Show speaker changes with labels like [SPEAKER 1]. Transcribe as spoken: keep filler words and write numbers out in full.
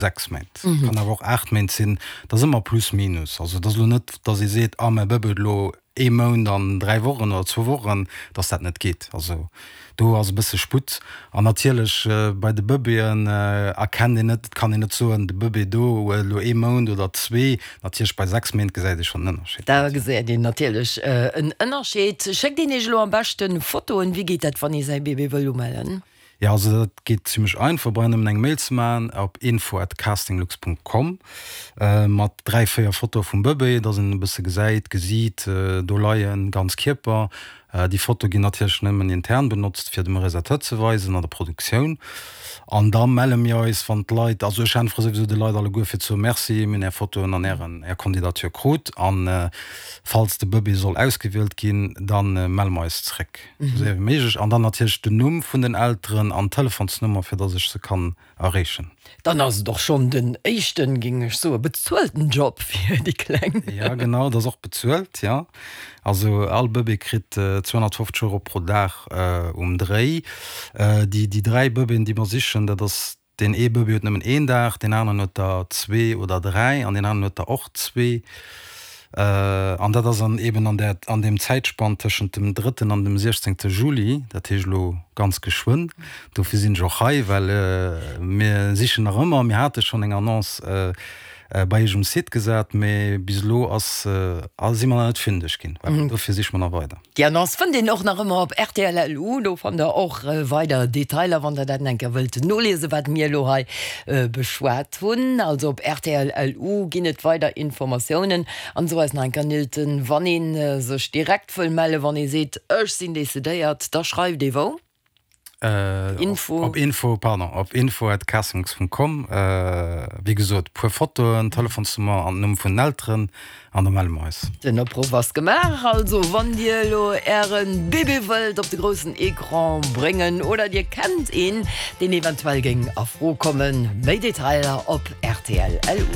[SPEAKER 1] sechs Méint, kann awer och aacht Méint sinn, dat ass ëmmer plus minus. Also et ass elo net, datt ee seet, ah mäi Bëbee huet elo ee Mount an dräi Wochen oder zwou Wochen, datt dat net geet. Also do ass e bësse Sputt. An natierlech bei de Bëbeeën erkennt een net, et kann een net soen, de Bëbee do huet elo ee Mount oder zwee. Natierlech bei sechs Méint gesäit ee schonn en Ënnerscheed.
[SPEAKER 2] Da gesäit een natierlech en Ënnerscheed. Schéckt een Iech elo am beschte Fotoen? Wéi geet dat, wann ee säi Bébé wëll umellen?
[SPEAKER 1] Jo, also dat geet zimmlech einfach, brauch nëmmen eng Mail ze maachen op info at castinglux punkt com mat dräi, véier Fotoe vum Bëbee, dass een e bësse gesäit, d'Gesiit do leien, ganz Kierper. Déi Fotoe ginn natierlech nëmmen intern benotzt, fir dem Realisateur ze weisen an der Produktioun. An da melle mir eis, wann d'Leit, also ech äntwere souwisou de Leit alleguer fir ze soen, Merci, mir hunn Är Fotoen an Ären, Är Candidature krut. An falls de Bëbee soll ausgewielt ginn, da melle mer eis zréck. Esou séier wéi méiglech. An dann natierlech den Numm vun den Elteren an d'Telefonsnummer, fir dass ech se kann erreechen.
[SPEAKER 2] Dann ass et och schonn den éischten, géing ech soen, bezuelten Job fir déi Kleng.
[SPEAKER 1] Jo, genau, et ass och bezuelt, jo. Also all Bëbee kritt zweehonnertfofzeg Euro pro Dag um Dréi. Déi dräi Bëbeeën, déi mer sichen, dat ass Deen ee Bëbee huet nëmmen een Dag, deen aneren huet der zwee oder dräi an deen aneren huet der och zwee. An dat ass dann eeben an där, an deem Zäitspann tëschent dem drëtten an dem siechzéngte Juli, dat heescht elo ganz geschwënn. Dofir sinn ech och hei, well mir sichen nach ëmmer. Mir hate schonn eng Annonce bei Iech um Site gesat, mee bis elo ass, si mer nach net fündeg ginn. Dofir siche mer nach weider.
[SPEAKER 2] Déi Annonce fënnt een och nach ëmmer op rtl. Lu. Do fannt der och weider Detailer, wann der dat eng Kéier wëllt noliesen, wat mir elo hei beschwat hunn. Also op rtl. Lu ginn et weider Informatiounen. An so eis nach eng Kéier, Nilton, wann ee sech direkt wëll mellen, wann ee seet, ech sinn decidéiert, da schreift ee wou?
[SPEAKER 1] Info. Op info, pardon, op info at castings punkt com. Wéi gesot, puer Fotoen, Telefonsnummer an den Numm vun den Elteren an da melle mer eis.
[SPEAKER 2] Den Opruff ass gemaach. Also wann Dir elo Äre Bébé wëllt op de groussen Ecran bréngen oder Dir kennt een, deen eventuell géing a Fro kommen, méi Detailer op rtl. Lu.